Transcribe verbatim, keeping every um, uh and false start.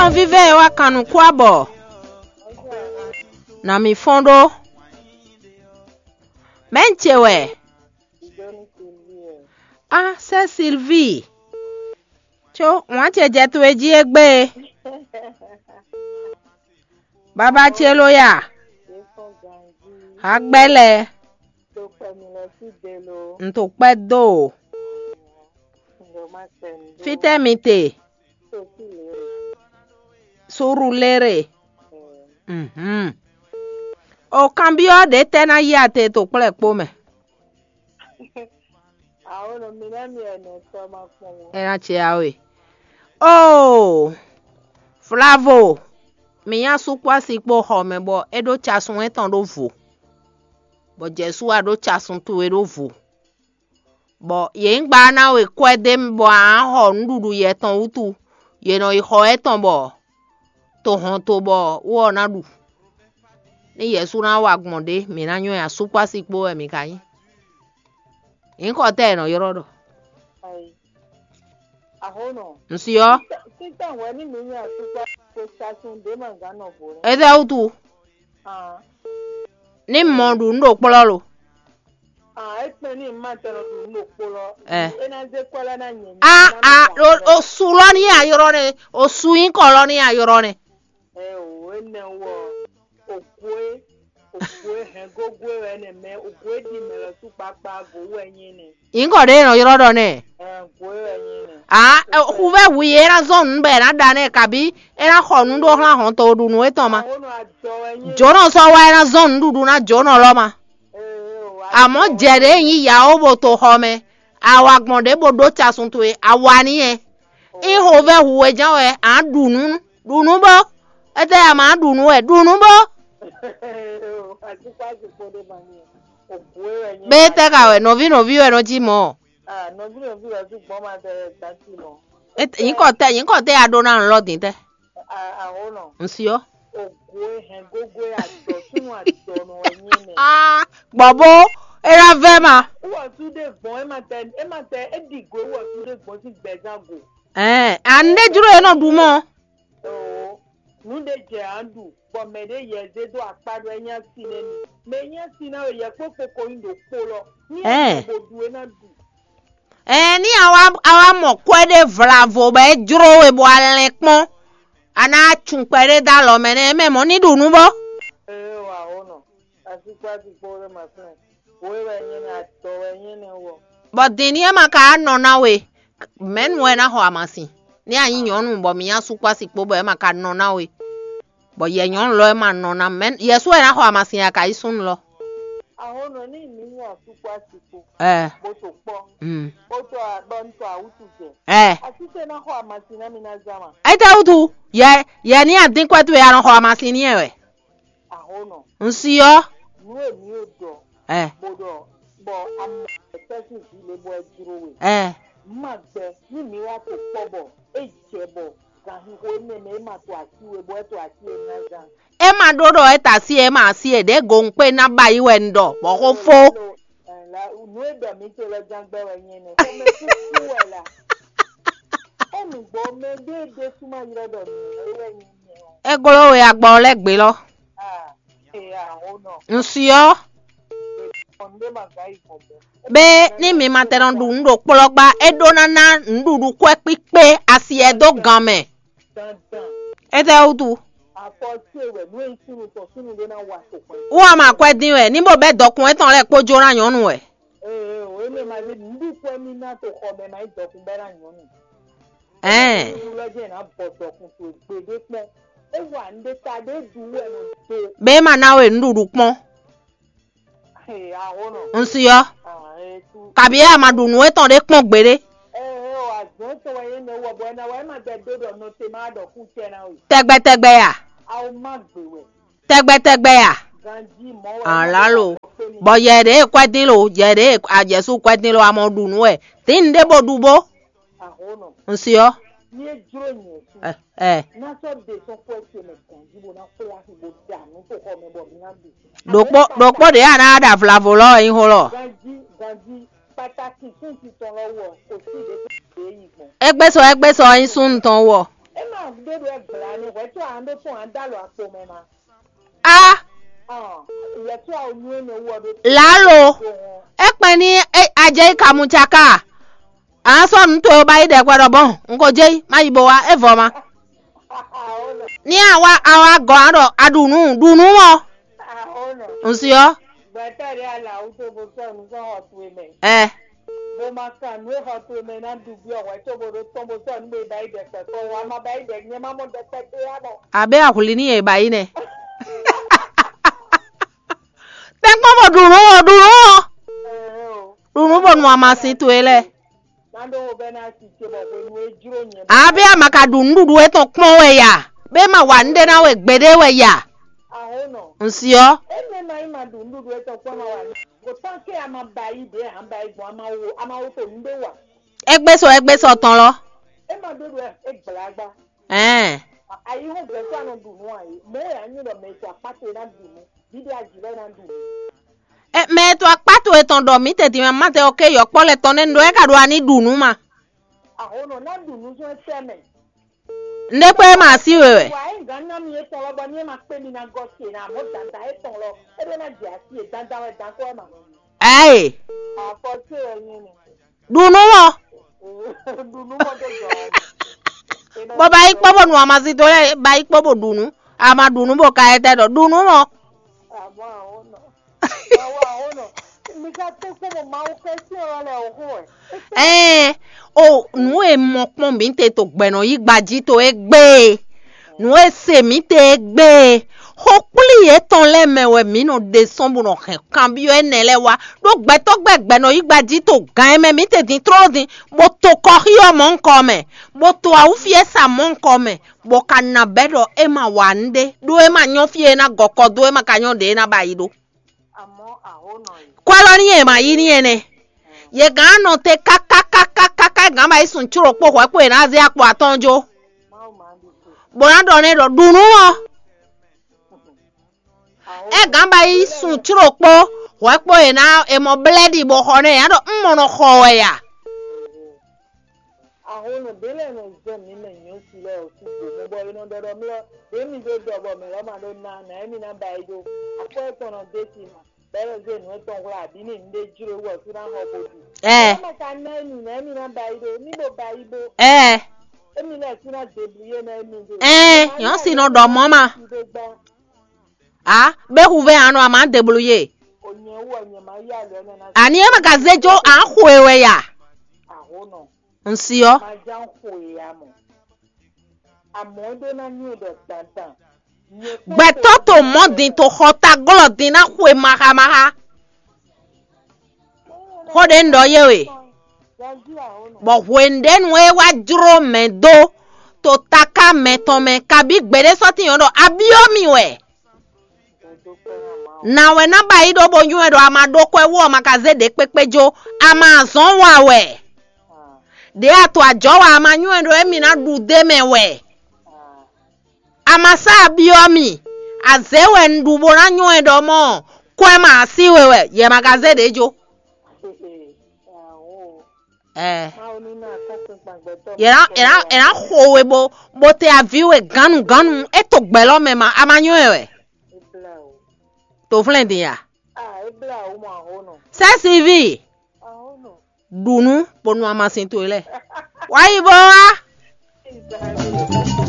Nɔví vɛ́ e wá kan nǔ kú abɔ, nǎ mi fɔ́n ɖó. Mɛ̌ un ce wɛ? Á, sɛ́ Silvíi, có wǎn ce jɛ towe jí égbé e. Babá ce ló ya? Hagbɛ́ lɛ́ɛ, un to kpɛ́ dó o. Fítɛ́ mi te? Surulere. Mhm. O kanbyɔ́ ɖě tɛ́ ná yi ate to kplɔ́ kpó mɛ. Awo nɔ mi ná mi ɛnɛ tɔ ma kpɔn wɔ. Ɛ ná ce awe. Oo, Flavo, mi nyá sukpɔ́ asi kpó xɔ mɛ bɔ é ɖó casun étɔn ɖó vo, bɔ Jɛsu wá ɖó casun towe ɖó vo, bɔ yě nyí gba ná we kwɛ́ dó émí bɔ a nǎ xɔ nǔɖuɖu yɛ tɔn wútu; yě nɔ yi xɔ étɔn bɔ to hɔn to bɔ wú ɔ́ ná ɖu. Ní Yɛsu ná wa gbɔn ɖě, mǐ ná nyɔ́ ɛ ǎ, sukpɔ́ asi kpó wɛ mǐ ka nyí. Nyǐkɔ tɛ́ è nɔ ylɔ́ ɖɔ? Ayi. Axɔ́nɔ. Un si ɔ́. Títàn wɛ ní mǐ nyi asukpá ko sasun ɖě ma gǎn nɔ vo lɛ́ɛ. Étɛ́ wútu? Aa. Ní mɔ ɖu nǔ ɖo kplɔ́ lo. Aa, é kpɛn ní ma tɛ nɔ ɖu nǔ ɖo kpó lɔ. Ɛ. É ná zé kwɛ́ lɛ́ɛ ná nyɛ. A a o o su lɔ ní ayrɔ nɛ, o su nyíkɔ lɔ ní ayrɔ nɛ. Ɛ o, énɛ́ wɔ, ògwé, ògwé hɛngógwé wɛ nɛ mɛ, ògwé ɖi mɛ lɔ sú kpakpa go wɛ nyí nɛ. Nyǐkɔ ɖé nɔ yrɔ ɖɔ nɛ. Ɛ, ògwé wɛ nyí nɛ. A xuvɛ́ hu yě ná zɔn nǔ bɔ è nǎ ɖa nɛ, kabí é ná xɔ nǔ ɖó xlán hɔn to ɖu nǔ étɔn ma. Awo nɔ adɔ wɛ nyí. Jǒnɔ sɔ́ wá é ná zɔn nǔɖuɖu ná jǒnɔ lɔ ma. Ee, o, a Amɔ̌ jɛ ɖě nyí yǎwo bo to xɔ mɛ, a wa gbɔn ɖě bo ɖó casun towe, a wa n'i yɛ. Ixovɛ́ hu we ján wɛ, a nǎ ɖu nǔ, ɖu nǔ bó. Étɛ́ a ma ɖu nǔ wɛ, ɖu nǔ bó. Bɛ tɛ́ ka wɛ, nɔví nɔví wɛ nɔ jí mɔ̌. Nyǐkɔ tɛ́, nyǐkɔ tɛ́ a ɖó ná lɔ dín tɛ́? Un si ɔ́. Gbɔ bó é ná vɛ́ ma. Ɛɛ, a nǔ ɖé jló e nɔ ɖu mɔ. Nǔ ɖé jɛ ǎ ɖu, bɔ mɛ ɖě yɛ zé dó akpá ɖɔ é nyí asi nɛ́ mi. Mɛ e nyí asi ná wɛ yɛ kpó kpokpo nyí ɖo kpo lɔ. Ní Ɛɛ. Ɛ bó ɖu é ná ɖu. Ɛɛ, ní a wá a wá mɔ kwɛ́ ɖé vlavo bɔ é jló we bɔ a lɛn kpɔ́n, a ná cun kpɛɖé dó alɔ mɛ nɛ́, mɛ mɔ̌ ní ɖu nǔ bó. Ee, wa o nɔ. Asi kpó asi kpó ɖé ma fún ɛ. Wo wɛ nyɛ nɛ, adɔ wɛ nyɛ nɛ wɔ. Bɔ din ní é ma ka nɔ ná we, mɛ̌nu wɛ ná xɔ amasin? Ní a nyí nyɔ̌nu bɔ mi nyá sukpɔ́ asi kpó bɔ é ma ka nɔ ná we, bɔ yɛ nyɔ̌nu lɔ é ma nɔ ná mɛ̌, yɛ sú wɛ ná xɔ amasin a ka yí súnnu lɔ? Ahɔn nɔ ní mi nyí asukpɔ asi kpo. Ɛ. Bó to kpɔ. Mm. Bó to a- bɔ n to awutu jɛ. Ɛ. Asi tɛ ná xɔ amasin ná mi ná zán ma. Étɛ́ wútu? Yɛ yɛ ní adín kwɛ́ towe a nɔ xɔ amasin n'i wɛ. Ahɔn nɔ. Un si ɔ́. Nú èmi ò dɔ. Ɛ. Bó dɔ bɔ amɔ ẹ̀tẹ́ sí ìdílé bɔ ẹ dúró we. Ɛ. Má gbẹ ní mi wá tó kpɔ bɔ é jẹ bɔ gàhíhó énɛ́ mɛ é ma to así we bɔ é to así e ná zán. É ma ɖó ɖɔ é ta sí é ma así é ɖě gowun kpé ná ba yi wɛ un ɖɔ bɔ xó fó. Nǔ e ɖɔ mǐ te lɔ ján gbɛ wɛ nyɛ nɛ. Xɔmɛ kúkú wɛ la. Ó nǔgbó mɛ ɖé ɖésú má ylɔ́ ɖɔ nǔ é wɛ nyɛ nɛ ɔ́. É gló we agbɔ lɛ́ gbě lɔ. Ah, ee, ahɔn nɔ. Un si ɔ́. Ɔn ɖé ma gǎ yi gbɔn bɔ. Bé ní mi ma tɛ nɔ ɖu nǔ ɖo kplɔ́ gbá, é ɖó ná ná nǔɖuɖu kwɛ́ kpíkpé asi ɛ dó gan mɛ. Dandan. Étɛ́ wútu? Afɔ ce wɛ nú e súnnu tɔn súnnu ɖé ná wa to kɔn. Wú a ma kwɛ́ dín wɛ, ní bó bɛ́ dɔkun étɔn lɛ́ɛ kpó jó ná nyɔ̌nu wɛ. Ee, o énɛ́ ma ɖé nǔɖuɖu kwɛ́ mì ná to xɔ mɛ ma yi dɔkun bɛ́ ná nyɔ̌nu. Ɛɛ. Nǔɖuɖu lɔ jẹ́ ná bɔ dɔkun to gbeɖé kpɔ́n. É wa nǔɖé ta ɖé ɖu wɛ nɔ do. Bé ma ná we nǔɖuɖu kpɔ́n. Ee, ahɔn nɔ. Un si ɔ́. Ah, ee, tu. Kabi é a ma ɖu nǔ étɔn ɖé kpɔ́n gbeɖé. Ee, ee, o azɔn tɔn wɛ yé nɔ wɔ bɔ ɛ na wɛ é ma gbɛ dó ɖɔ nɔ te ma ɖɔ kú tɛ na o. Tɛgbɛtɛgbɛ ya. Awo má gbé wɛ. Tɛgbɛtɛgbɛ ya. Ganji mɔ wɛ. Alalo. Bɔ yɛ ɖe kwɛdin lo, yɛ ɖe ajɛsu kwɛdin lo, amɔ ɖu nǔ wɛ. Tin ɖé bo ɖu bó. Ahɔnɔ. Un si ɔ́. Ní é jló nyɛ sí. Ɛ ɛ. Ná sɔ́ ɖe sɔ́ kwɛ́ ce mɛ ganji bó ná kplá sí bó da nǔ tó xɔ mɛ bɔ mi ná ɖu. Ɖokpó ɖokpó ɖě a ná ɖa vlavo lɔ wɛ nyí xó lɔ. Ganji ganji pàtàkì fún titun lɔ wɔ kò sí ìdè tó dé yìí gbɔn. Égbé sɔ égbé sɔ nyí súnnu tɔn wɔ. É máa Ɖo ɛ gbla ni hwɛ tso an ɖo tún an dalo akpo mɛ ma. A, Ɔn, yɛ tso awo nyu ene wɔ ɖo lalo, do hɔn. Ekpɛn ni e ajɛ yi kamu tsaka. An sɔ nu to ba yi ɖɛ kwɛ ɖɔ bɔn, n ko jɛ yi ma yi bo wa evɔ ma. Awo nɔ. Ni awa awa gɔ an ɖɔ a ɖu nu ɖu nu mɔ. Awo nɔ. N si ɔ. Gbɛtɔ ɖe ala awu to bo sɔ nu sɔ xɔ towe mɛ. Ɛ. Bo ma kan nu e xɔ towe mɛ na ɖu bi ɔwɛ to bo ɖo tɔn bo sɔ nu bo yi ba yi ɖɛ kpɛkpɔ wa ma ba yi ɖɛ nyɛ ma mɔ ɖɛ kpɛkpɛ ya mɔ. Abe ahwli ni yɛ ba yi nɛ. Tɛnkpɔn bo ɖu nu ɔ ɖu nu ɔ. Ɛɛ o. Ɖu nu bo nu amasin towe lɛ́ɛ. Ná ɖó wo bɛ́ ná si ce bɔ hwenu e jló nyɛ. Abe a ma ka ɖu nuɖuɖu etɔn kpɔn wɛ ya? Be ma wa nu ɖé ná we gbeɖé wɛ ya? Aho nɔ. N si ɔ. Eme ma yi ma ɖu nuɖuɖu etɔn kpɔn ma wa nu. Kò tán ke a ma ba yi ɖě a ba yi gbɔn a ma wo a ma wo to nu ɖé wa. Egbe sɔ egbe sɔ tɔn lɔ. E ma ɖó ɖo e gbla gba. Ɛn. Ayi hɔn gbɛtɔ anɔ ɖu nu ayi. Mɛ ya nyi ɖɔ mɛ to akpá to e ná ɖu nu. Ɖiɖi aji lɛ ná ɖu nu. Ɛ, mɛ e to akpá towe tɔn ɖɔ mǐ tɛ́ntin mɛ Maatɛ ɔ́ ké yɔkpɔ́ lɛ́ɛ tɔn nɛ́ ɖɔ é ka ɖo ani ɖu nǔ ma. Aho nɔ ná ɖu nǔ zɔn sɛ mɛ. Nɖé kpé ma sí we wɛ. Wa é gǎn ná mi étɔn lɔ bɔ ní é ma kpé mi ná gɔ ce ná mɔ dada étɔn lɔ é ɖó ná jɛ asi é dandan wɛ dan kɔ é ma. Ɛɛ. Afɔ ce wɛ nyí ni. Ɖu nǔ mɔ. Ɖu nǔ mɔ tó jɔ. Bɔ ba yi kpɔ bɔ nu amasin to lɛ ba yi kpɔ bɔ ɖu nǔ. Ama ɖu nǔ bɔ ka yɛ tɛ ɖɔ ɖu nǔ mɔ. Àmọ́ àwọn náà. Àwọn àwọn náà. Mi ká tó kó mọ máa wọ kẹ́sí ọ̀rọ̀ rẹ̀ òhún ẹ̀. Ɛɛ, o nǔ e mɔ kpɔn mǐ te to gbɛ̌nɔ yí gbají to égbé e, nǔ e se mǐ te égbé e, xó kplí yětɔn lɛ́ɛ mɛ wɛ mǐ nɔ ɖe sɔ́ bó nɔ hɛn kanbyɔ́ énɛ́ lɛ́ɛ wá, ɖó gbɛtɔ́ gbɛ gbɛ̌nɔ yí gbají to gǎn e mɛ mǐ te din tlóló din, bó to kɔxí ɔ́ mɔ̌hunkɔ mɛ, bó to awúfiɛ́sa mɔ̌hunkɔ mɛ, bó ka ná bɛ́ ɖɔ é ma wa nǔɖé, ɖó é ma nyɔ́ fí e é ná gɔ kɔ dó, é ma ka nyɔ́ ɖě é ná ba yi ɖó. Àmọ́ àhónɔ yìí. Kwɛ́ lɔ ní yě ma yí ní ɛnɛ. Yě gán nɔ te kákákákáká gán ba yi sun cúrò kpó hwɛ̌ kpó yě ná zé akpo atɔ́ɔ́n jó. Mawu máa ń di kú. Bó ná ɖɔ nɛ́ ɖɔ ɖu nǔ ɔ́. Àhónɔ. É gán ba yi sun cúrò kpó hwɛ̌ kpó yě ná è mɔ blɛ́ɖi bó xɔ nɛ́ yě ná ɖɔ un mɔ nɔ xɔ wɛ ya. Aho nɔ ɖě lɛ́ɛ nɔ zɛ mǐ mɛ nyɔ̌si lɛ́ɛ ɔ́ sín do mɛ bɔ è nɔ ɖɔ ɖɔ mlɔ́ ɖě mi ɖó ɖɔ bɔ mɛ̌ lɔ́ ma ɖó ná nǎ émí ná ba yi ɖó akwɛ́ tɔn nɔ dó sí ma bɔ é nɔ zé nǔ etɔn hwlá abǐ ní nǔɖé jló wú ɔ́ sú ná xɔ gbo bǐ. Ɛ. Ɛ má ka ná émí nǎ émí ná ba yi ɖó ní bo ba yi bó. Ɛ. Émí lɛ́ɛ sú ná deblu yé ná émí ɖó. Ɛ, nyɔ̌si nɔ ɖɔ mɔ̌ ma. Á, bɛ hu vɛ anɔ a ma deblu yé. Onyɛ wú ɔnyɛ má yá lɔ ɛnɛ ná. Ani é ma ka zé jó à ń xo e wɛ ya. Aho nɔ. N si ɔ. Má já ń xo e ya mɔ. Àmọ́ é ɖó ná nyí ɖɔ dandan. Gbɛtɔ́ to mɔ̌ din to xɔ taglɔ́ din ná xwe maxamaxa. Xó ɖé un ɖɔ yé we, bɔ hwenu ɖé nu é wá jló mɛ dó to taká mɛ tɔn mɛ kabí gbeɖé sɔ́ tín ɔ́ ɖɔ a byɔ́ mì wɛ. Nǎ wɛ ná ba yí ɖó bó nywɛ́ ɖɔ a ma ɖó kwɛ́ wú ɔ́ ma ka zé ɖě kpékpé jó, a ma zɔ̌n wa wɛ. Ɖě a to ajɔ̌ wa a ma nywɛ́ ɖɔ émí ná ɖu d'é mɛ wɛ. A ma sá a byɔ́ mì, azě wɛ un ɖu bó ná nywɛ́ ɖɔ mɔ̌ kwɛ́ ma así we wɛ, yɛ ma ka zé ɖě jó. Ɛɛ. Mawu ní ná akɔ́nkpinkpan gbɛtɔ́. Yɛ ná yɛ ná yɛ ná xo we bó bó te aví we gánnu gánnu, é to gbɛ̌ lɔ́ mɛ ma, a ma nywɛ́ wɛ. Ebla o. To flɛ́n din ya. Ah, ebla o mɔ aho nɔ. Sɛ́siví. Aho nɔ. Ɖu nǔ bó nu amasin towe lɛ́ɛ. Wá yi bó wá.